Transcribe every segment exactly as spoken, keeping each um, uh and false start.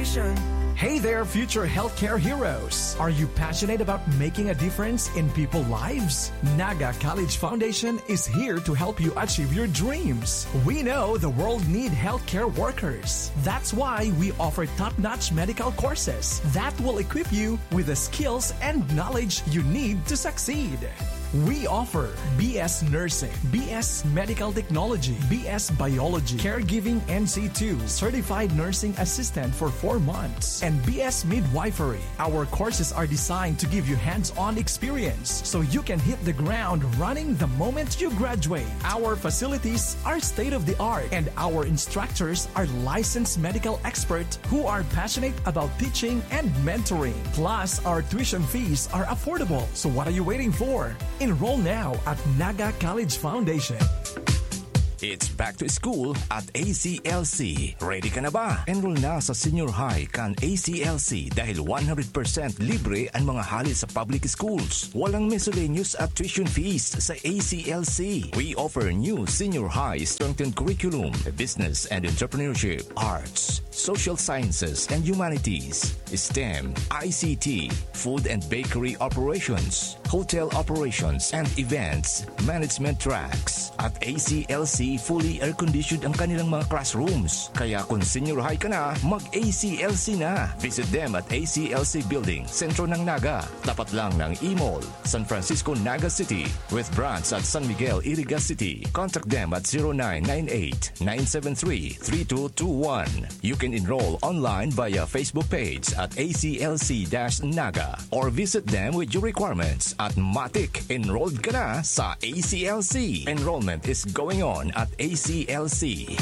Hey there, future healthcare heroes! Are you passionate about making a difference in people's lives? Naga College Foundation is here to help you achieve your dreams. We know the world need healthcare workers. That's why we offer top-notch medical courses that will equip you with the skills and knowledge you need to succeed. We offer B S Nursing, B S Medical Technology, B S Biology, Caregiving N C two, Certified Nursing Assistant for four months, and B S Midwifery. Our courses are designed to give you hands-on experience so you can hit the ground running the moment you graduate. Our facilities are state-of-the-art, and our instructors are licensed medical experts who are passionate about teaching and mentoring. Plus, our tuition fees are affordable. So what are you waiting for? Enroll now at Naga College Foundation. It's back to school at A C L C. Ready ka na ba? Enroll na sa senior high kan A C L C dahil one hundred percent libre ang mga hali sa public schools. Walang miscellaneous at tuition fees sa A C L C. We offer new senior high strengthened curriculum, business and entrepreneurship, arts, social sciences and humanities, STEM, I C T, food and bakery operations, hotel operations and events management tracks. At A C L C, fully air-conditioned ang kanilang mga classrooms. Kaya kung senior high ka na, mag-A C L C na. Visit them at A C L C Building, sentro ng Naga, tapat lang ng E-Mall, San Francisco, Naga City, with branch at San Miguel, Iriga City. Contact them at zero nine nine eight, nine seven three, three two two one. You can enroll online via Facebook page at A C L C dash Naga or visit them with your requirements at matik, enrolled ka na sa A C L C. Enrollment is going on at A C L C.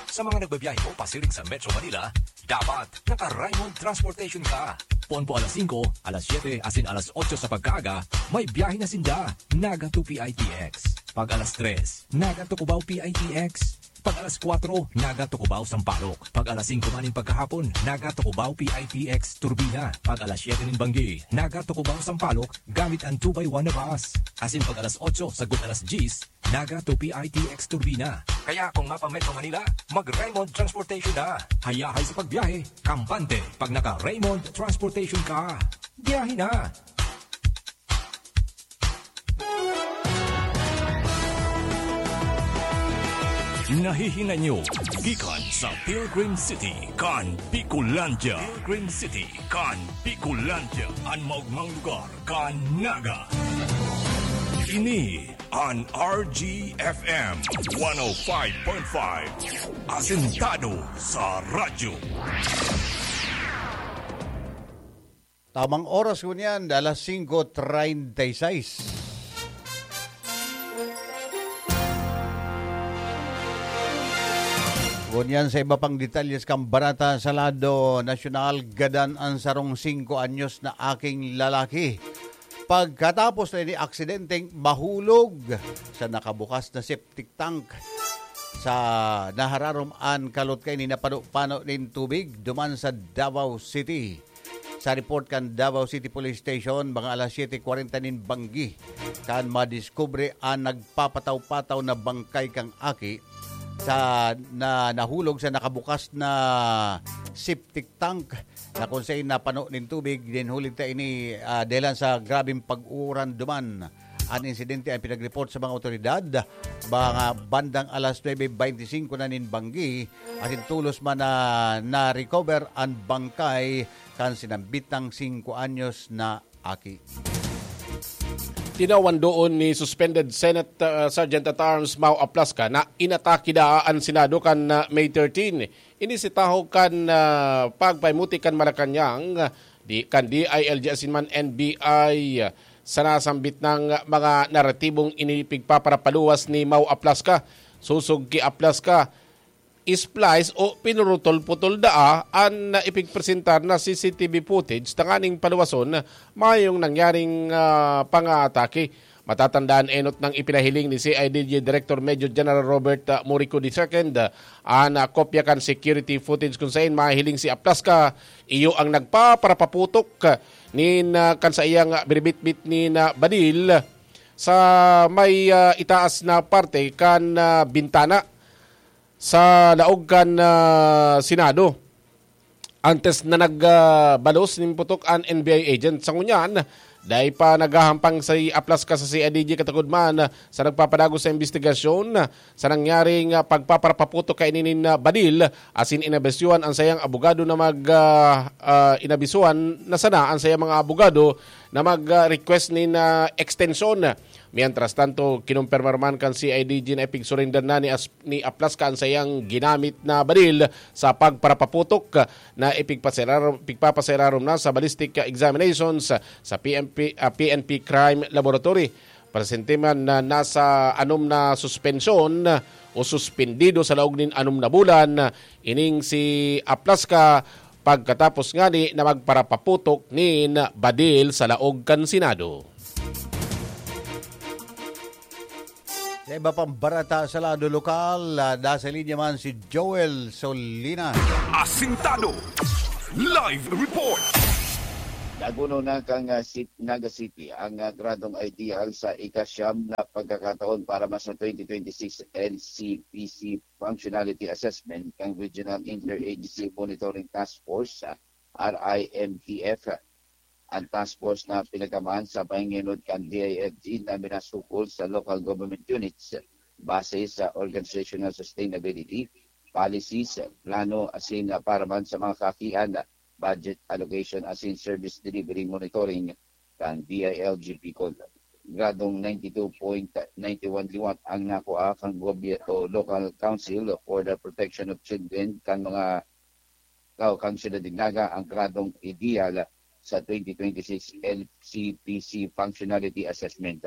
Sa mga nagbabiyahe po pasiring sa Metro Manila, dapat naka-Raymond Transportation ka. Poon po alas singko, alas siyete, asin alas otso sa pagkaaga, may biyahe na sinda. Naga to P I T X. Pag alas tres, Naga to Cubao P I T X. Pag alas kwatro, Naga to Cubao Sampaloc. Pag alas singko man nin pagkahapon, Naga to Cubao P I T X Turbina. Pag alas siyete nin banggi, Naga to Cubao Sampaloc gamit ang two by one na bus. Asin pag alas otso sagkod alas dyes, Naga to P I T X Turbina. Kaya kung mapa-Metro Manila, mag-Raymond Transportation na. Hayahay sa pagbiyahe, kampante pag naka-Raymond Transportation ka. Biyahe na! Nahihinay nyo gikan sa Pilgrim City kan Bicolandia. Pilgrim City kan Bicolandia, an maogmang lugar kan Naga. Ini an R G F M one oh five point five, asentado sa radyo. Tamang oras ngunyan, alas singko treinta y seis. Ngunyan sa iba pang detalyes kan barata sa lado nasyonal, gadan an sarong singko anyos na aking lalaki pagkatapos na ini aksidenteng mahulog sa nakabukas na septic tank sa nahararom an kalot kaini na pano-pano nin tubig duman sa Davao City. Sa report kan Davao City Police Station, mga alas siyete kwarenta nin banggi kan madiskubre an nagpapataw-pataw na bangkay kan aki sa, na nahulog sa nakabukas na septic tank na kun saen napano nin tubig. Dinhulit ta ini, ah, dahelan sa grabeng pag-uuran duman. An insidente an pinag-report sa mga otoridad. Mga bandang alas nuebe beintisinko na nin banggi, asin tolos man na na-recover an bangkay kan sinambit nang singko anyos na aki. Tinawan doon ni suspended Senate, uh, Sergeant at Arms Mau Aplasca na inatake daa an Senado kan, uh, May thirteen. Ini si tahaw kan, ah, pagpaimuti kan Malacañang, di, kan D I L G asin man N B I, ah, sa nasambit nang mga naratibong ini pigpaparapaluwas ni Mau Aplasca. Sosog ki Aplasca, splice o pinurutol-putol daa an ipigpresentar na C C T V footage tanganing paluwason mayong nangyaring, ah, pangaatake. Matatandaan enot nang ipinahiling ni C I D G Director Major General Robert, ah, Morico the second, ah, an, ah, kopya kan security footage kun saen mahihiling si Aplasca iyo ang nagpaparapaputok, ah, nin, ah, kan saiyang, ah, binibitbit nin, ah, badil sa may, ah, itaas na parte kan, ah, bintana. sa laog kan, ah, Senado. Antes na nag, ah, balos nin putok an N B I agent. Sa ngunyan, dai pa naghahampang si Aplasca sa C I D G katakod man sa nagpapadagos sa imbestigasyon sa nangyaring, ah, pagpaparapaputok kaini nin, ah, badil asin inabisyuhan an sayang abogado na mag, ah, ah, inabisyuhan na sana an sayang mga abogado na mag, ah, request nin, ah, extension. Mientras tanto, kinumpirma man kan C I D G na ipigsurrender na ni As-, ni Aplasca an sayang ginamit na badil sa pagparapaputok na ipigpasirarom, pigpapasirarom na sa ballistic examinations sa P M P, ah, P N P Crime Laboratory. Presente man na nasa anom na suspensyon o suspendido sa laog nin anom na bulan ining si Aplasca pagkatapos ngani na magparapaputok nin badil sa laog kan Senado. Sa iba pang barata sa lado lokal, ah, nasa linya man si Joel Solinas. Asintado. Live report. Naguno na kan, ah, Sit-, Naga City ang, ah, gradong ideal sa ikasyam na pagkakataon para man sa twenty twenty-six L C P C Functionality Assessment kan Regional Interagency Monitoring Task Force, ah, R I M T F. Ang task force na pinagkamahan sa panginginod kan D I F G na minasukol sa local government units base sa organizational sustainability, policies, plano asin, ah, para man sa mga kaakian, budget allocation asin service delivery monitoring kan D I L G Bicol. Gradong ninety-two point nine one liwat ang nakua kan gobyerno, Local Council for the Protection of Children kan mga Kao kan Syudad nin Naga ang gradong ideal sa twenty twenty-six L C P C Functionality Assessment.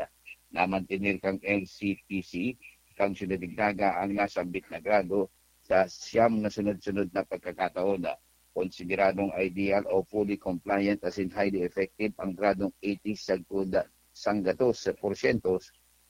Namantener kan L C P C kan Syudad nin Naga ang nasambit na grado sa siyam na sunod-sunod na pagkakataon. Konsideradong ideal o fully compliant asin highly effective ang gradong eighty sagkod sanggatos porsyento.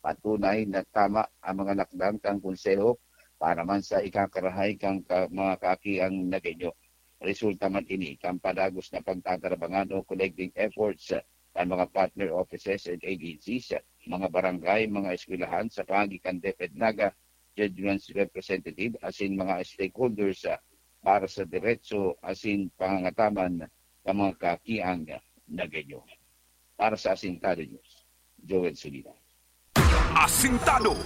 Patunay na tama ang mga lakdang kan Konseho para man sa ikakarahay kan ka-, mga kaakiang Nagueño. Resulta man ini kan padagos na pagtatarabangan o collecting efforts kan mga partner offices and agencies, mga barangay, mga eskwelahan sa paagi kan DepEd Naga, Judgments Representative asin mga stakeholders, ah, para sa diretso asin pangangataman kan mga kaakiang Nagueño. Para sa Asintado News, Joel Solina. Asintado.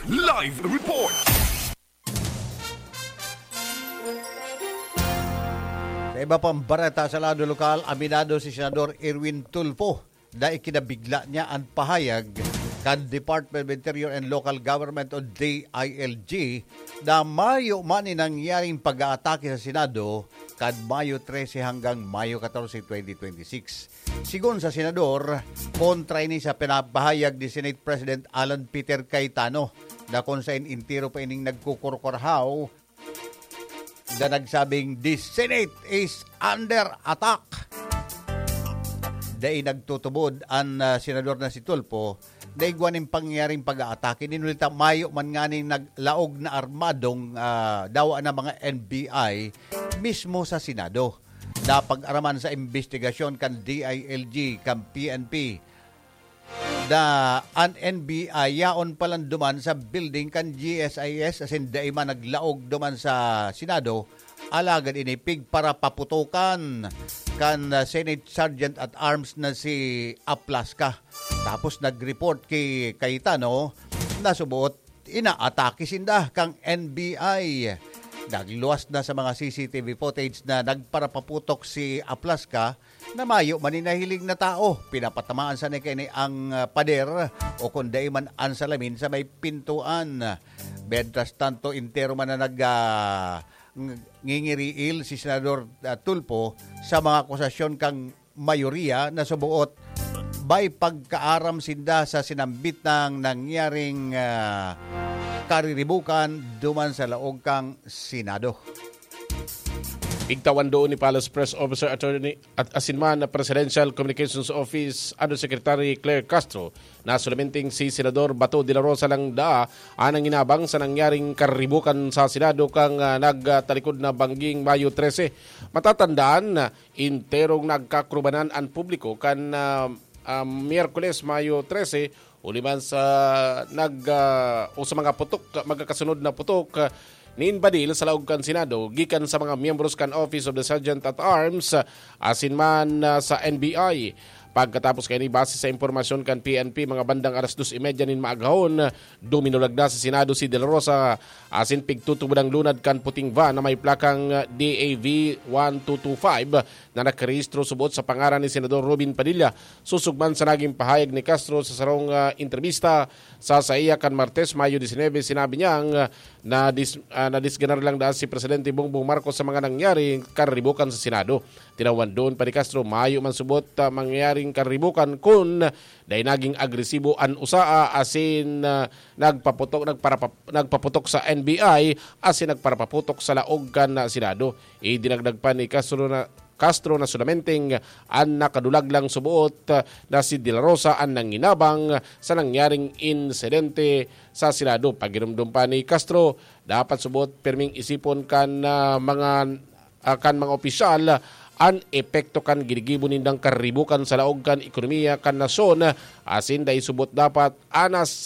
Live report. Sa iba pang bareta sa lado lokal, aminado si Senador Erwin Tulfo na ikinabigla niya an pahayag kan Department of Interior and Local Government o D I L G na mayo man ni nangyaring pag-aatake sa Senado kan Mayo trese hanggang Mayo katorse, twenty twenty-six. Sigon sa senador, kontra ini sa pinapahayag ni Senate President Alan Peter Cayetano na kung sain entero pa ining nagkukurkurhaw na nagsabing, "The Senate is under attack." Dai nagtutubod an, ah, senador na si Tulfo na igwa nin pangyayaring pag-aatake. Nin huli ta, mayo man nganing naglaog na armadong, ah, dawa na mga N B I mismo sa Senado. Napag-araman sa imbestigasyon kan D I L G, kan P N P, na an N B I yaon palan duman sa building kan G S I S, asin dai man naglaog duman sa Senado, alagad ini pigparapaputokan kan, ah, Senate Sergeant at Arms na si Aplasca. Tapos nag-report ki Cayetano na suboot inaatake sinda kang N B I. Nagluwas na sa mga C C T V footage na nagparapaputok si Aplasca na mayo man ni nahiling na tao. Pinapatamaan sana kaini ang, ah, pader o kun dai man an salamin sa may pintuan. Mientras tanto, entero man na nag, ah, ng-, ngingiriil si Senador, ah, Tulfo sa mga akusasyon kang mayoriya na suboot may pagkaaram sinda sa sinambit nang nangyaring, ah, kariribukan duman sa laog kang Senado. Igtawan doon ni Palace Press Officer Attorney at asin man na Presidential Communications Office Undersecretary Claire Castro na solamente si Senador Bato de la Rosa lang daa ang nanginabang sa nangyaring kariribukan sa Senado kang, ah, nagtalikod na bangging Mayo trese. Matatandaan na enterong nagkakrubanan an publiko kan, ah, ah, Miyerkules, Mayo trese, huli man sa nag, ah, o sa mga putok, magkakasunod na putok, ah, nin badil sa laog kan Senado gikan sa mga miyembros kan Office of the Sergeant at Arms asin man ah, sa N B I. Pagkatapos kaini, base sa impormasyon kan P N P, mga bandang alas dos y media nin maaghon, duminulag na sa Senado si De La Rosa asin pigtutubod ang lunad kan puting van na may plakang D A V one two two five na nakarehistro subot sa pangaran ni Senador Robin Padilla. Susog man sa naging pahayag ni Castro sa sarong ah, entrebista sa saiya kan Martes, Mayo disinebe, sinabi niyang ah, na dis, ah, nadisganar lang daan si Presidente Bongbong Marcos sa mga nangyari karibukan sa Senado. Tinawan doon pa ni Castro, mayo man subot ah, mangyaring karibukan kun dai naging agresibo an usaa asin ah, nagpaputok nagparapap, nagpaputok sa N B I asin nagparapaputok sa laog kan ah, Senado. Idinagdag pa ni Castro na Castro na solamenteng an nakadulag lang suboot ah, na si De La Rosa an nanginabang sa nangyaring insidente sa Senado. Pagirumdom pa ni Castro, dapat suboot pirming isipon kan ah, mga ah, kan mga opisyal an epekto kan ginigibo nindang karibukan sa laog kan ekonomiya kan nasyon, asin dai subot dapat anas